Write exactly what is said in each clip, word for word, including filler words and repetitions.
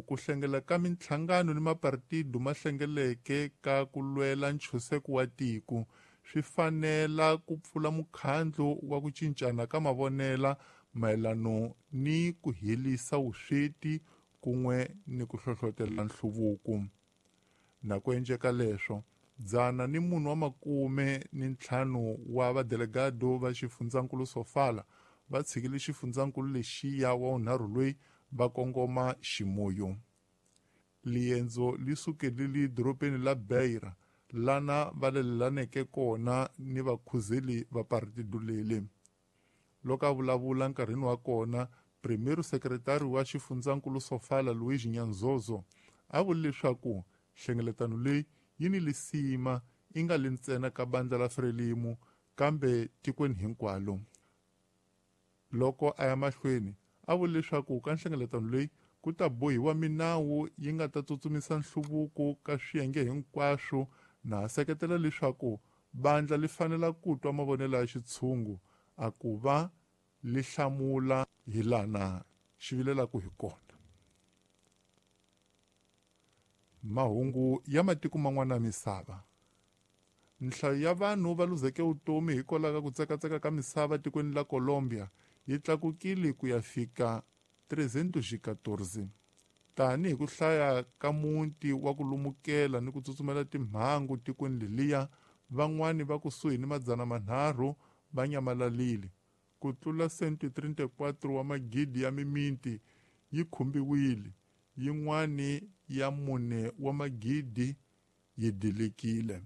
Ku hlengela ka minhlangano ni mapartido ma hlengeleke ka ku lwela ntshunxeko wa tiko swi fanela ku pfula mukhandlu wa ku cincana ka mavonela mayelano ni ku helisa vusweti kun'we ni ku hlohlotela nhluvuko. Na ku endleka leswo, dzana ni munhu wa makume ni ntlhanu wa vadelegado va xifundzankulu Sofala va tshikile xifundzankulu lexiya wa vunharhu loyi va kongoma Chimoio. Liendzo li sukelile dorobeni la Beira lana va lelelaneke kona ni vakhuzeli va partido leli. Loko a vulavula nkarhini wa kona, Primeiro Secretário wa xifundzankulu Sofala Luís Nyanzozo a vule leswaku nhlengeletano leyi yi ni lisima yi nga li ntsena ka bandla la Frelimo kambe tikweni hinkwalo. Loko a ya mahlweni a vule leswaku ka nhlengeletano leyi ku ta bohiwa minawu yi nga ta tsutsumisa nhluvuko ka swiyenge hinkwaswo na seketela leswaku bandla li fanela ku twa mavonelo ya xitshungu a ku va li hlamula hi lana xi vilelaka hi kona. Mahungu ya matiko man'wana ya misava. Nhlayo ya vanhu va luzeke vutomi hikwalaho ka ku tsekatseka ka misava tikweni la Colombia yi tlakukile ku ya fika trezentos e quatorze. Tanihi ku hlaya ka muti wa ku lumukela ni ku tsutsumela timhangu tikweni leliya, van'wani va kusuhi ni madzana manharhu va nyamalalile. Ku tlula cento e trinta e quatro wa magidi ya mimiti yi khumbiwile, yin'wani ya mune wa magidi yi dilekile.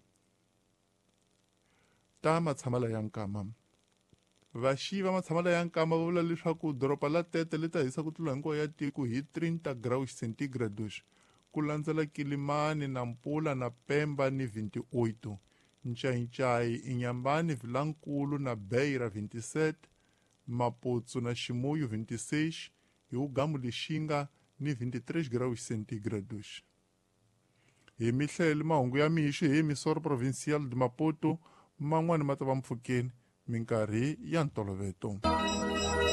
Ta matshamela ya nkama. Vaxiyi va matshamela ya nkama va vula leswaku doroba la Tete li ta hisa ku tlula hinkwayo ya tiko hi trinta graus centígrados, ku landzela Kilimani na Mpula na Pemba ni vinte e oito, Ncayicayi, Inhambane, Vilankulu na Beira vinte e sete, Maputo na Chimoio vinte e seis e Ugamu Lixinga ni vinte e três graus centígrados. Hi mihlele mahungu ya mixo hi Emissora Provincial de Maputo, man'wani ma ta va mpfhukeni minkarhi ya ntoloveto.